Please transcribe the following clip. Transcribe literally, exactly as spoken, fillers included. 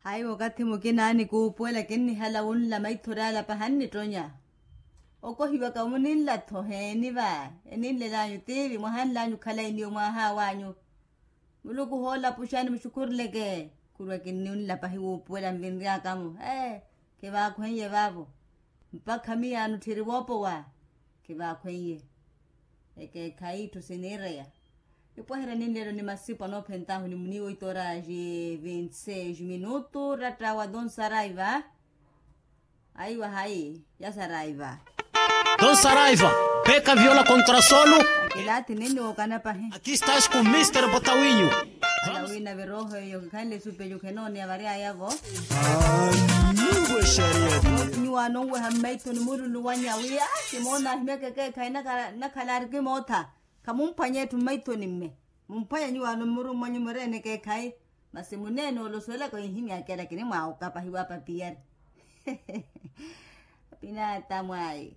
Hayi wakathi mukina anikuupuwela kinnihala wunla maithori ala paha nnittonya. Okohiwaka muninla-tho heeni va? Eninlel'anyu tiivi mwahanl'anyu okhala iniyo mwaaha w'anyu. Muluku hoolapuxani muxukhuruleke. Khurwa kinninla pahi wuupuwela nvinry'aka-mo. Ee, kivaakhweiye vaavo. Mpakha miyaano tthiri woopowa. Kivaakhweiye. Ekeekhayi itthu siniireya. Ipwaherya ninleelo ni masipu anoophent'ahu ni muniiwa oitora ji vinti seis minutu ratta wa donsaraiva. Aiwa hayi yasaraiva. Donsaraiva. Peka viola kontra solu. Akilaathi ninniwookana pahi. Akistas ku mister botawinyu. Ala wina virooho eyo kikhanle esupe eyo khenooneya vary'aya-vo. Nyuwaano onweha mmaithoni mululu wanya wi aa kimoona ahimyaka ekeekhayi. Nakhala arikimootha. Khamumphwanya etthu mmaithoni mme. Mumphwanya nyuwaano mmuru mwanyu mureene ekeekhayi. Masi muneene ole osuwelaka ohihimyaka ela kinimwaawoka pahi wa papiyari. Apinaata mwayi.